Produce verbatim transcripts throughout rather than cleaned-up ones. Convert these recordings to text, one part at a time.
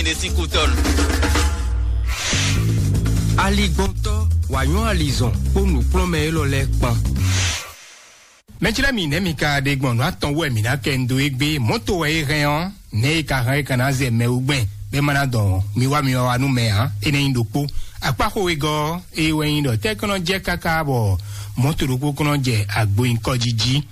Ine sín kútɔ́nu. Aligbɔntɔ́, wǎnyɔ́ alizɔn kpó nǔkplɔ́nmɛ élɔ́ lɛ́ɛ kpán. Mɛjlɛ́ mi nɛ̌ mi ka ɖe gbɔn nǔ atɔn wú wɛ mǐ ná kɛ ndu égbé? Mɔ̌to wɛ é hɛn ɔ́, nɛ̌ é ka hɛn é ka ná zɛ mɛ wú gbɛn bɔ é ma ná dɔn mi wá mi wá wá nú mɛ ǎ? É nɛ́ nyí ɖokpó. Akpáxo wegɔ́ ɔ́, é wɛ nyí ɖɔ tɛ́ kɔn nɔ jɛ káká bɔ mɔ̌to ɖokpó kɔn nɔ jɛ agbo nyǐkɔ jí jí.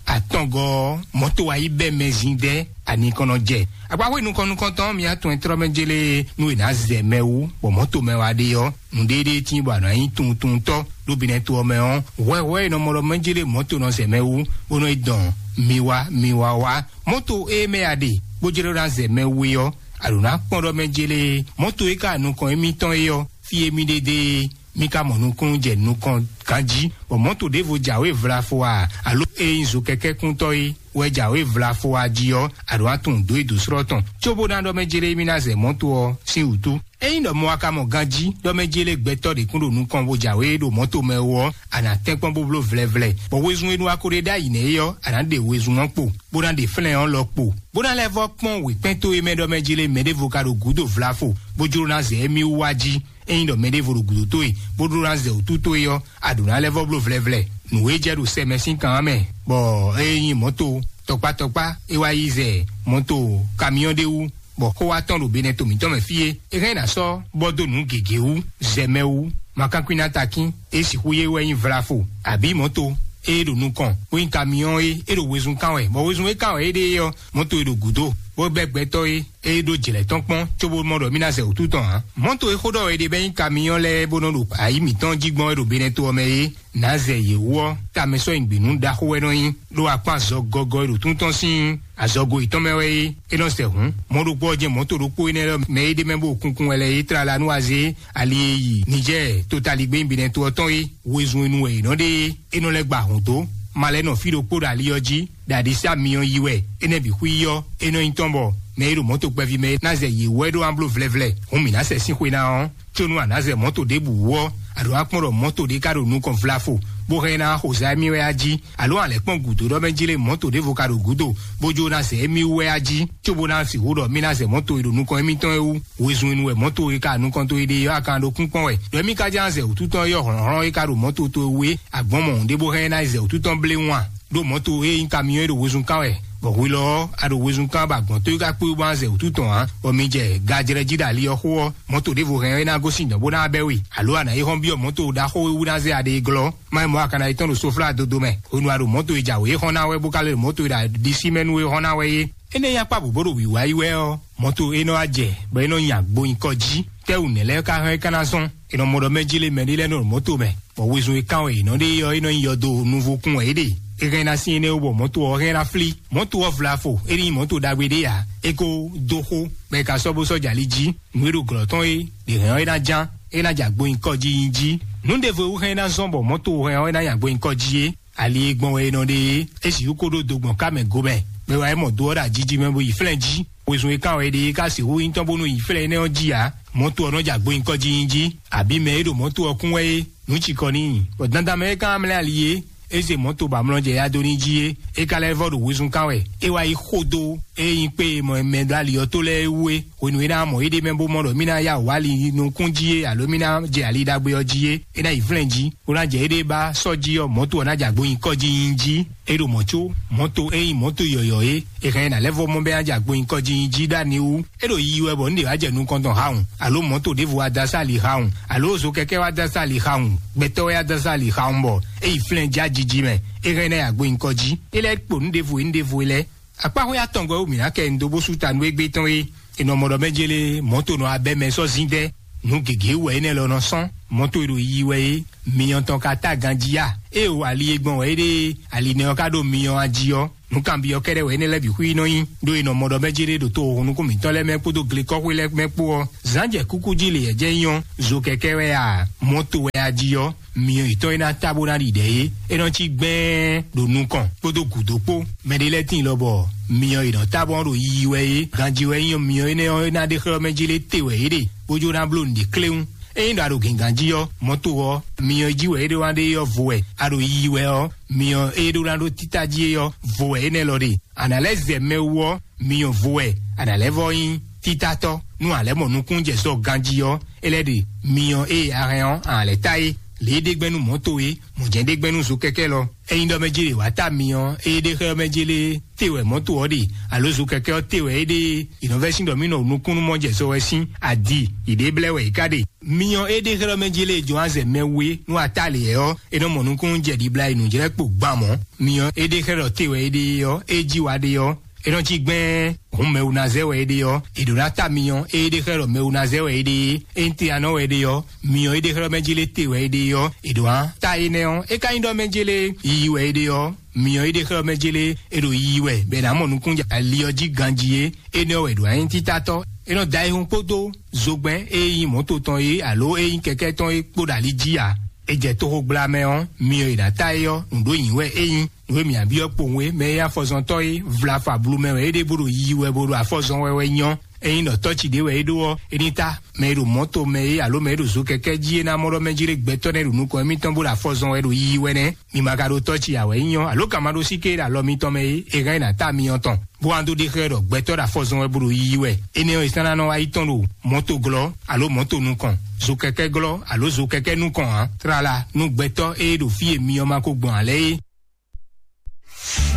Atɔngɔ́ ɔ́, mɔ̌to wá yi bɛ́ mɛ zíndɛ́ anikɔnɔ jɛ. Akpáxwé nukɔn nukɔntɔn mi atɔn e tlɔ́ mɛ jélé nú è nǎ zɛ mɛ wú, bɔ mɔ̌to mɛ wá ɖe ɔ́, nǔɖéɖé tín bɔ a nǎ nyí tuntuntɔ́ ɖó binɛto ɔ́ mɛ ɔ́, hwɛhwɛ e nɔ mɔ ɖɔ mɛ jélé mɔ̌to nɔ zɛ mɛ wú, bó nɔ yi dɔn mi wá mi wá wá. Mɔ̌to e mɛ a ɖe bó jló ná zɛ mɛ wú é ɔ́, a ɖǒ ná kpɔ́n ɖɔ mɛ jélé mɔ̌to e ka nukɔn émítɔn é ɔ́, fí émí ɖe dé mi ka mɔ nukúnnú jɛ nukɔn ganjí, bɔ mɔ̌to ɖěvo jǎwe vlafo a, alo e nyí zo kɛkɛ́kúntɔ́ é wɛ jǎwe vlafo a jí ɔ́, a ɖǒ ná tunwun dǒ e dǒ slɔ́ tɔn, cóbó ná ɖɔ mɛ jélé mí ná zɛ mɔ̌to ɔ́ sín wǔtu. Ényí ɖɔ mɔ a ka mɔ ganjí ɖɔ mɛ jélé gbɛtɔ́ ɖě kún ɖo nukɔn bó jǎwe ɖo mɔ̌to mɛ ó ɔ́, a nǎ tɛ́nkpɔ́n bó bló vlɛvlɛ, bɔ wezun e nú a ko ɖe ɖ'ayǐ nɛ́ é ɔ́, a nǎ ɖe wezun ɔ́ kpo, bó ná ɖe flɛ́n ɔ́ lɔ kpo, bó ná lɛ́ vɔ́ kpɔ́n wěkpɛ́n towe mɛ ɖɔ mɛ jélé mɛɖěvo ka ɖo gǔdo vlafo, bó jló ná zɛ émí wú wá jí. Ényí ɖɔ mɛɖěvo ɖo gǔdo towe, bó ɖó ná zɛ wǔtu towe ɔ́, a ɖǒ ná lɛ́ vɔ́ bló vlɛvlɛ. Nǔ e jɛ ɖo sɛ mɛ sín kan ɔ́ mɛ, bɔ é nyí mɔ̌to tɔkpá tɔkpá é wá yi zɛ mɔ̌to kamyɔ́n ɖé wú, bɔ xó wá tɔn ɖo benɛto mǐtɔn mɛ fí é. É hɛn ná sɔ́ bɔ dó nǔ gěgé wú, zɛ mɛ wú, makankwín ná takín, é sixú yé wɛ nyí vlafo, abǐ mɔ̌to e ɖo nukɔn, bó nyí kamyɔ́n é, é ɖo wezun kán wɛ, bɔ wezun e kán wɛ é ɖe é ɔ́, mɔ̌to e ɖo gǔdo, bó bɛ́ gbɛtɔ́ é, é ɖó jlɛ̌ tɔn kpɔ́n, cóbó mɔ ɖɔ mí ná zɛ wǔtu tɔn ǎ. Mɔ̌to e xó ɖɔ é ɖe bɛ́ nyí kamyɔ́n lɛ́ɛ bó nɔ ɖo ayǐ mǐtɔn jí gbɔn é ɖo benɛto ɔ́ mɛ é, nǎ zɛ yě wú ɔ́, tamɛ sɔ́ nyi gběnú ɖaxó wɛ nɔ nyí, ɖó akpán azɔ gɔgɔ e ɖo tún tɔn sín azɔgo yětɔn mɛ wɛ é, é nɔ sɛ hǔn. Mɔ̌ ɖokpó ɔ́ jɛ́n mɔ̌to ɖokpó énɛ́ lɛ́ɛ mɛ é ɖ'é mɛ bó kunkun wɛ lɛ́ɛ é tlala nú azé ali e yi Nijɛ́ɛ totaligbé nyí benɛto ɔ́ tɔn é. Wezun e nu wɛ è nɔ ɖe é, é nɔ lɛ́ gba hǔn dó, ma lɛ́ nɔ fí ɖokpó ɖo ali ɔ́ jí, ɖo aɖisí amyɔ yi wɛ, énɛ́ bǐ xwí ɔ́, é nɔ nyí tɔn bɔ mɛ e ɖo mɔ̌to kpɛví mɛ é ná zɛ yě wú wɛ ɖó ná bló vlɛvlɛ, hǔn mǐ ná sɛ sín xwe ná ɔ́. Có nú a nǎ zɛ mɔ̌to ɖěbǔ wú ɔ́, a ɖǒ ná kpɔ́n ɖɔ mɔ̌to ɖé ka ɖo nukɔn vlafo, bó hɛn ná xo zá émí wɛ á jí, alo a lɛ̌ kpɔ́n gǔdo ɖɔ mɛ jlé mɔ̌to ɖěvo ka ɖo gǔdo, bó jó ná zɛ émí wú wɛ á jí, cóbó ná sixú ɖɔ mí ná zɛ mɔ̌to e ɖo nukɔn émítɔn é wú. Wezun e nu wɛ mɔ̌to e ka nukɔn towe ɖe ɔ́, a ka ɖo kúnkpɔ́n wɛ, ɖɔ émí ka ján zɛ wǔtútɔn e yɔ hlɔ̌nhlɔ́n e ka ɖo mɔ̌to towe wú é, a gbɔn mɔ nǔɖé bó hɛn ná yi zɛ wǔtútɔn blé wún a? Ɖó mɔ̌to e nyí kamyɔ́n e ɖo wezun kán wɛ, bɔ hwelɔ ɔ́, a ɖo wezun kán bɔ agbɔ̌n towe ka kpé bó ná zɛ wǔtú tɔn ǎ, bɔ mi jɛ gajlɛ́ jí ɖo ali ɔ́ xó ɔ́, mɔ̌to ɖěvo hɛn ɔ́, é ná gosín dɔ̌n bó ná bɛ́ we, alo a nǎ yi hɔn byɔ́ mɔ̌to ɖaxó e wú ná zɛ aɖe e glɔ́, má nyí mɔ̌ a ka ná yi tɔ́n ɖo soflá dodo mɛ, hwenu a ɖo mɔ̌to e jǎwe é xɔ́n ná wɛ bó ka lɛ́ ɖo mɔ̌to e ɖo ɖisí mɛ nú é xɔ́n ná wɛ é. Énɛ́ nyí akpá bǔ bó ɖo wǐwá yi wɛ ɔ́, mɔ̌to e nɔ wá jɛ, bɔ é nɔ nyi agbo nyikɔ jí. Tɛ́wǔ nɛ̌ lɛ́ɛ ka hɛn é ka ná zɔ́n? È nɔ mɔ ɖɔ mɛ jlé mɛ ɖé lɛ́ɛ nɔ ɖo mɔ̌to mɛ, bɔ wezun e kán wɛ è nɔ ɖe é ɔ́, é nɔ nyi yɔdo nuvokún wɛ é ɖe. É hɛn ná sín énɛ́ wú bɔ mɔ̌to ɔ́ hɛn ná flí. Mɔ̌to ɔ́ vlafo, é ní nyí mɔ̌to ɖagbe ɖé ǎ. É ko dó xó, bɔ è ka sɔ́ bó sɔ́ jɛ ali jí. Nǔ e ɖo glɔ̌ tɔn é, ɖě hɛn ɔ́ é ná ján, é ná jɛ agbo nyikɔ jí nyi jí. Nǔ ɖěvo e wú hɛn é ná zɔ́n bɔ mɔ̌to hɛn ɔ́ é ná nyi agbo nyikɔ jí é, ali e gbɔn wɛ è nɔ ɖe é, é sixú ko ɖó do gbɔn ká mɛ gomɛ, bɔ é wá yi mɔ do ɔ́ ɖo ají jí mɛ bó yi flɛ́n jí. Wezun e kán wɛ è ɖe é ka sixú nyí tɔn bónú yi flɛ́n énɛ́ ɔ́ jí ǎ. Mɔ̌to ɔ́ nɔ jɛ agbo nyikɔ jí nyi jí, abǐ mɛ e ɖo mɔ̌to ɔ́ kún wɛ é, nǔ cikɔ n'i, bɔ dandan mɛ e ka mlɛ́ ali é, é se mɔ̌to ba mlɔ́ jɛ ya dó ní jí é, é ka lɛ́ vɔ́ ɖo wezun kán wɛ. É wá yi xo dó e nyí kpé e mɔ mɛ ɖó ali ɔ́ tó lɛ́ɛ wú é. Hwenu e ná mɔ éɖée mɛ bó mɔ ɖɔ mí ná yá wǔ ali nukún jí é, alo mí ná jɛ ali ɖagbe ɔ́ jí é, é ná yi flɛ́n jí, bó ná jɛ éɖée ba sɔ́ jí ɔ́, mɔ̌to ɔ́ ná jɛ agbo nyikɔ jí nyi jí. É ɖo mɔ̌ có mɔ̌to e nyí mɔ̌to yɔ̌yɔ́ é, è hɛn ná lɛ́ vɔ mɔ bɛ́ ná jɛ agbo nyikɔ jí nyi jí ɖó ani wú. É ɖo yiyi wɛ bɔ nǔ ɖě wá jɛ nukɔn tɔn hawun, alo mɔ̌to ɖěvo wá dó asá ali hawun, alo zo kɛkɛ́ wá dó asá ali hawun, gbɛtɔ́ wá dó asá ali hawun bɔ é yi flɛ́n jí ajiji mɛ, é hɛn ná yi agbo nyikɔ jí. É lɛ́ kpo nǔ ɖěvo e nǔ ɖěvo e lɛ́ɛ. Akpáxwé atɔngɔ́ e wú mǐ ná kɛ nyi dó bó sú ta nú égbé tɔn é. È nɔ mɔ ɖɔ mɛ jélé mɔ̌to nɔ abɛ mɛ sɔ́ zín dɛ́. Nǔ gěgé wú wɛ énɛ́ lɔ nɔ sɔ́n. Mɔ̌to e ɖo yiyi wɛ é, myɔ tɔn ka tá ganjí a? Ée o ali e gbɔn wɛ é ɖe ali nɛ ɔ́ ka ɖo myɔ a jí ɔ́, nǔ kanbyɔ́ kɛ́ɖɛ́ wɛ énɛ́ lɛ́ɛ bǐ xwí nɔ nyí. Ɖó è nɔ mɔ ɖɔ mɛ jélé ɖo to nukún mǐtɔn lɛ́ɛ mɛ kpódó glekɔ́xwé lɛ́ɛ mɛ kpó ɔ́, zǎn jɛ kúkú jí lě yɛ jɛ nyɔ́, zo kɛkɛ́ wɛ a, mɔ̌to wɛ a jí ɔ́, myɔ yětɔn e ná tá bó ná ɖi ɖɛ é, é nɔ cí gbɛ́ɛ́n ɖo nukɔn kpódó gǔdo kpó. Mɛ ɖé lɛ́ɛ tíin lɔ bɔ myɔ e nɔ tá bó nɔ ɖo yiyi wɛ é, ganjí wɛ nyí myɔ énɛ́ ɔ́, é ná ɖe xlɛ́ mɛ jí lé te wɛ é ɖe, bó jó ná bló nǔɖé kléwún. Ényí ɖɔ a ɖo gǐngán jí ɔ́, mɔ̌to ɔ́, myɔ e jí wɛ é ɖó ná ɖe é ɔ́ vo wɛ; a ɖo yiyi wɛ ɔ́, myɔ e ɖó ná ɖó títá jí é ɔ́, vo wɛ énɛ́ lɔ ɖe. A nǎ lɛ́ zɛ mɛ wú ɔ́, myɔ vo wɛ a nǎ lɛ́ vɔ́ nyí. Títatɔ́, nú a lɛ́ mɔ nukúnnú jɛ sɔ ganjí ɔ́, é lɛ́ ɖe myɔ e a hɛn ɔ́, a lɛ́ ta é. Lě e ɖe gbɛ́ nú mɔ̌to é, mɔ̌ jɛ́n ɖe gbɛ́ nú zokɛkɛ́ lɔ. Ényí ɖɔ mɛ jé ɖe wǎ ta myɔ e ɖe xlɛ́ ɔ́ mɛ jé lé te wɛ mɔ̌to ɔ́ ɖe, alo zokɛkɛ́ ɔ́ te wɛ é ɖe é, è nɔ vɛ́ sín ɖɔ mì nɔ nukúnnú mɔ jɛ sɔ wɛ sín adi, yě ɖe blɛ́ wɛ yě ká ɖe. Myɔ e ɖe xlɛ́ ɔ́ mɛ jé lé jɔn azɛ mɛ we nú a ta lě ɔ́, é nɔ mɔ nukúnnú jɛ ɖibla e nǔjlɛ́kpo gban mɔ̌. Myɔ e ɖe xlɛ́ ɖɔ te wɛ é ɖe é ɔ́, é jí wa ɖe ɔ́, é nɔ cí gbɛ́ɛ́n hǔn mɛwunazɛ wɛ é ɖe ɔ́, è ɖǒ ná ta myɔ e ɖe xlɛ́ ɖɔ mɛwunazɛ wɛ é ɖe é. Ényí te anɔ wɛ é ɖe ɔ́, myɔ e ɖe xlɛ́ ɖɔ mɛ jé lé te wɛ é ɖe ɔ́, è ɖǒ ná ta énɛ́ ɔ́. É ka nyí ɖɔ mɛ jé lé yiyi wɛ é ɖe ɔ́, myɔ e ɖe xlɛ́ ɖɔ mɛ jé lé è ɖo yiyi wɛ bɔ è nǎ mɔ nukúnnú ali ɔ́ jí ganjí é. Énɛ́ wɛ ɖǒ ná nyí títatɔ́. É nɔ da ayihún kpódó zogbɛ́n e nyí mɔ̌to tɔn é alo e nyí kɛkɛ́ tɔn é kpó ɖo ali jí ǎ. È jɛ toxo gbla mɛ ɔ́, myɔ e ná ta é ɔ́, nǔɖó nyǐ wɛ é nyí. Nǔ e mǐ byɔ́ kpowun é, mɛ e nyí afɔzɔntɔ́ é, vlafa blu mɛ wɛ é ɖe bó ɖo yiyi wɛ bó ɖo afɔzɔn wɛ wɛ nyɔ́. Ényí ɖɔ tɔ́ ci ɖé wɛ é ɖó ɔ́, é ní ta. Mɛ e ɖo mɔ̌to mɛ é alo mɛ e ɖo zo kɛkɛ́ jí é ná mɔ ɖɔ mɛ jí ɖé gbɛtɔ́ nɛ́ ɖo nukɔn émítɔn bó ɖo afɔzɔn wɛ ɖo yiyi wɛ nɛ́. Mi ma ka ɖo tɔ́ ci ǎ wɛ é nyɔ́, alo ka ma ɖó síké ɖo alɔ mitɔn mɛ é, é hɛn é ná ta myɔ tɔn, bó wá dó ɖe xlɛ́ ɖɔ gbɛtɔ́ ɖo afɔzɔn wɛ bó ɖo yiyi wɛ. Énɛ́ ɔ́, è sán ná nɔ wá yi tɔn ɖo mɔ̌to glɔ́, alo mɔ̌to nukɔn, zo kɛkɛ́ glɔ́, alo zo kɛkɛ́ nukɔn ǎ. Tlala nú gbɛtɔ́ e ɖo fí e myɔ ma ko gbɔn ǎ lɛ́ɛ é.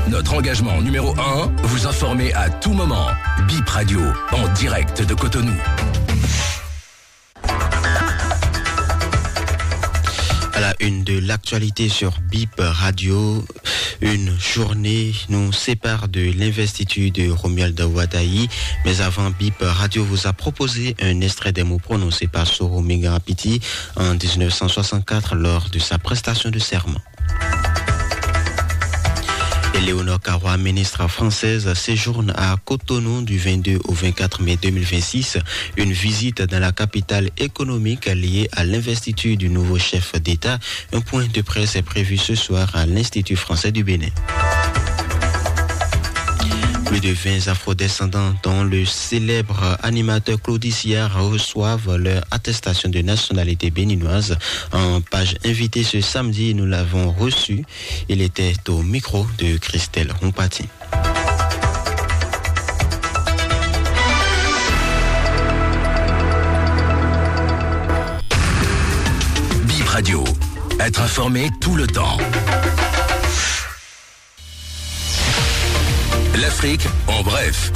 Notre engagement numéro un, vous informer à tout moment. Bip Radio, en direct de Cotonou. À la une de l'actualité sur Bip Radio, une journée nous sépare de l'investiture de Romuald Wadagni. Mais avant, Bip Radio vous a proposé un extrait des mots prononcés par Soro Megarapiti en dix-neuf cent soixante-quatre lors de sa prestation de serment. Éléonore Carrois, ministre française, séjourne à Cotonou du vingt-deux au vingt-quatre mai deux mille vingt-six, une visite dans la capitale économique liée à l'investiture du nouveau chef d'État. Un point de presse est prévu ce soir à l'Institut français du Bénin. Plus de vingt afrodescendants, dont le célèbre animateur Claude Isia, reçoivent leur attestation de nationalité béninoise. En page invitée ce samedi, nous l'avons reçu. Il était au micro de Christelle Humpati. Bip Radio, être informé tout le temps. L'Afrique en bref.